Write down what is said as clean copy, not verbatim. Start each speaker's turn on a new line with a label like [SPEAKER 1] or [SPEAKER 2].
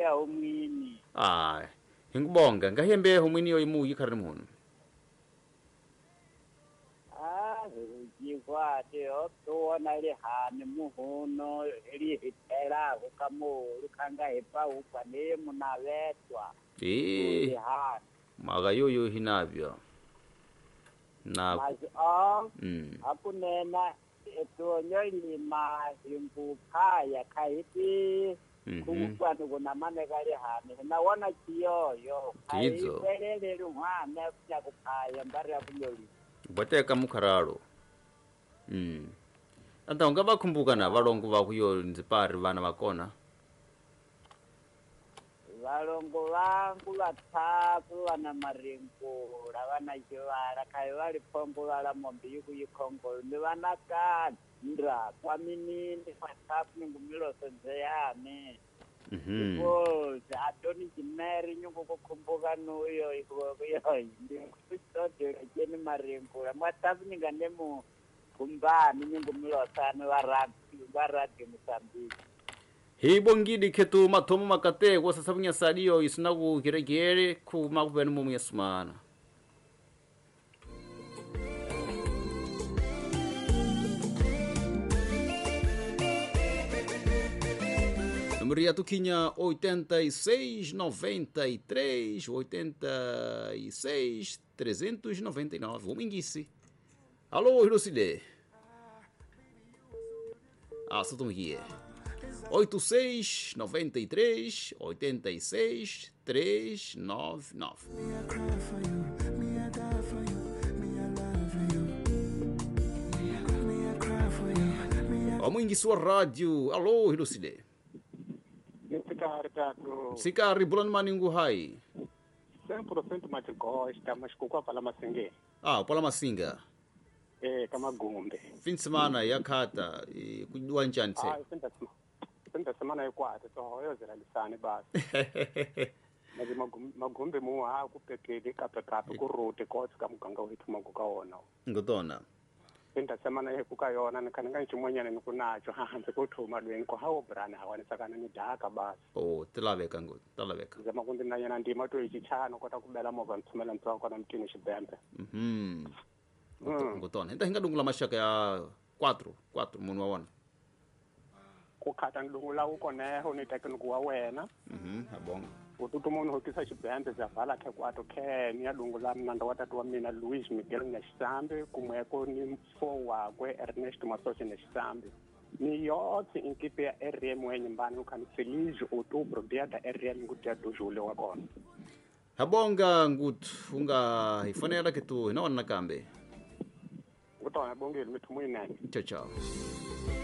[SPEAKER 1] ya humwini.
[SPEAKER 2] Ah, hingubonga ngahembe humwini yo imu yikhari muhunu.
[SPEAKER 1] Ah, jikwate otona lihani muhuno lihitela kukamulu kanga hepa ukwane munavetwa.
[SPEAKER 2] Eh. Maga yoyo hinavyo. Na
[SPEAKER 1] akunena etuonyolima imbuphaya khaipi kukwanu kunamane kalihani nawona chiyoyo khaikwelele mwana kuphaya mbari ya kunyolima
[SPEAKER 2] bateka mukharalo. Anta ungabakhumbuka na valongo va kuyo nzipari vana vakona
[SPEAKER 1] valongo vangu vatatu vana maringula vana chivala khai vali phombo vala mombe yikuyikhongolo ni vana kandra kwaminini matatu ningumiloso nzeyane. Because atoni jimeri nyungu kukhumbuka nuyo ikuyoyi ndikutsodela cheni maringula mwatatu ninganemu kumbani nyungumilosane va radio Mozambique.
[SPEAKER 2] Hibongidi ketu mathomo makate kwa sasa bunyasadio isina ku kiregere ku makubeni mu myasumana. Número ya tukinya 86 93 86 399. Ominguice. Alô, Hirocide. Ah, só estamos aqui. 86 93 86 399. Omingue sua rádio. Alô, Hirocide. Sikari bulan maningu hai.
[SPEAKER 3] 100% machigosta, mas kukwa pala masinge.
[SPEAKER 2] Ah, pala masinga.
[SPEAKER 3] Eh, kama gumbe.
[SPEAKER 2] Fim de semana yakata kudwa njani tse.
[SPEAKER 3] Ah, fim de semana yikwata so hoyozela lisane basi. Mazi magumbe mu ha kupepele kapekape ku rote kotsi ka muganga wethu maguka wona.
[SPEAKER 2] Ngotona.
[SPEAKER 3] Fim de semana yekuka yona nikana nchimonyana nikunacho ha hanze kuthuma lweni ko hawo brana hawanisakana ni daka basi.
[SPEAKER 2] Oh, tilaveka ngo, tilaveka.
[SPEAKER 3] Zama kundi nanyana ndima to ichichano kota kubela movha ntsumela ntswa kona mtini xibembe.
[SPEAKER 2] Ngotona. Hinta hinga dungula mashaka ya 4 munhu wa wona.
[SPEAKER 3] Ku khata ndungula u koneho ni tekniku wa wena.
[SPEAKER 2] Abonga.
[SPEAKER 3] Ututu munhu hokisa xibembe zavala khe kwato khe ni ya dungula mnanda wa tatu wa mina Luis Miguel Nyaxisambi kumweko ni mfo wakwe Ernest Masoshe Nyaxisambi. Ni yotse inkipe ya RM wenyumbani ukhani feliz outubro dia da RM ngudia do julho wa kona.
[SPEAKER 2] Habonga nguthu unga hifanela ke tu hina nakambe.
[SPEAKER 3] Ngutona bongile mithu muinene.
[SPEAKER 2] Tchau tchau.